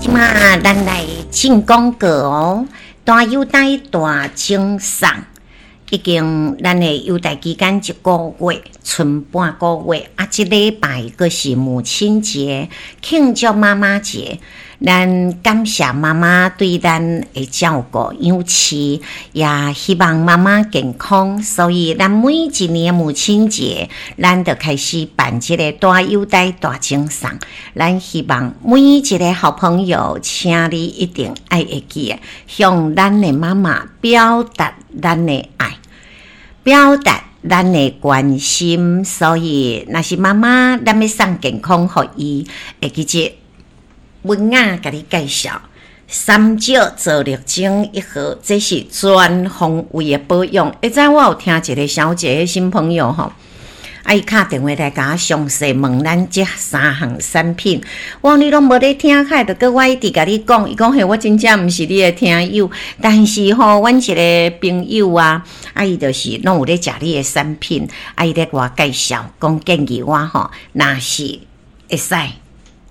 這馬咱來進廣告哦，大優待大贈送，已經咱的優待期間一個月，賰半個月啊！這禮拜閣是母親節，慶祝媽媽節。咱感謝媽媽對咱的照顧養飼，也希望媽媽健康。所以，咱每一年母親節，咱就開始辦這个大優待大贈送。咱希望每一个好朋友，請你一定愛會記得向咱的媽媽表達咱的愛，表達咱的關心。所以，若是媽媽，咱欲送健康予伊，會記得。文雅共你介紹三石皂綠精一盒，這是全方位的保養。會知我有聽一个小姐的新朋友吼，啊，伊敲電話來共我詳細問咱這三項產品。我講你攏無咧聽，開著閣我一直共你講。伊講嘿，我真正毋是你的聽友，但是吼，阮一个朋友啊，啊，伊就是攏有咧食你的產品，啊，伊咧共我介紹，講建議我吼，若是會使。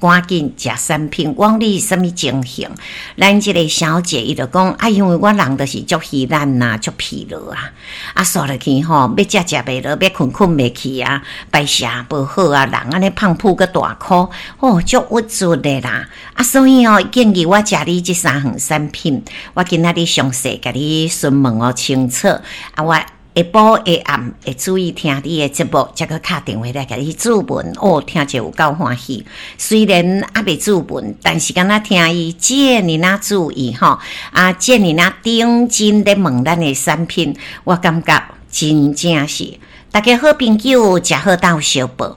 趕緊食產品，我講你是啥物情形？咱這个小姐伊就講啊，因為我人就是足虛懶啊，足疲勞啊，啊，煞落去吼，欲食食袂落，欲睏睏袂去啊，排泄無好啊，人按呢胖噗閣大箍，哦，足鬱卒的啦。啊，所以哦，建議我食你這三項產品，我今仔日詳細共你詢問予清楚，啊，我。下晡下暗會注意聽你的節目，才閣敲電話來共你諮問。哦，聽者有夠歡喜。雖然猶未諮問，但是敢若聽伊這爾仔注意吼，啊，這爾仔認真咧問咱的產品，我感覺真正是大家好朋友，食好鬥相報。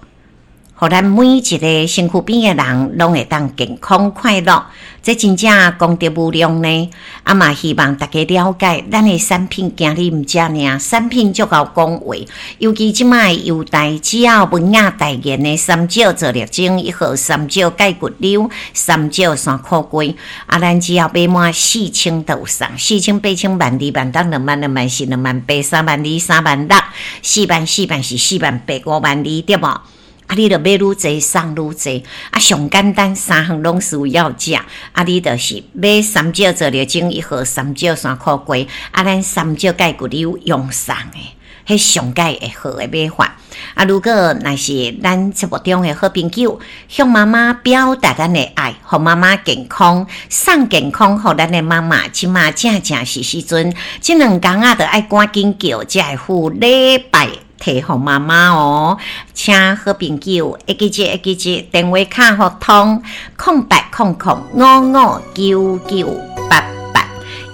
予咱每一个身軀邊的人攏會當健康快樂，這真正功德無量呢。啊嘛，希望大家了解，咱的產品今日毋止爾，產品足𠢕講話。尤其這擺的優待，只要文雅代言的三石皂綠精一盒，三石鈣骨溜，三石山苦瓜。啊，咱只要買滿4000就有送，四千、八千、萬二、萬六、兩萬、2萬4、2萬8、3萬2、3萬6、4萬、4萬4、4萬8、5萬2，對無？啊！你著買愈濟送愈濟，啊！上簡單三項攏需要食，啊！你就是買三石皂綠精一盒，三石山苦瓜，啊！咱三石鈣骨溜用送的，彼上蓋會好的買法。啊！如果若是咱節目中的好朋友，向媽媽表達咱的愛，予媽媽健康，送健康予咱的媽媽，這馬正正是時陣，這兩工仔著愛趕緊叫，才會赴禮拜。提予媽媽哦，請好朋友會記得會記得電話卡予通0800559988。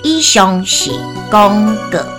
以上是廣告。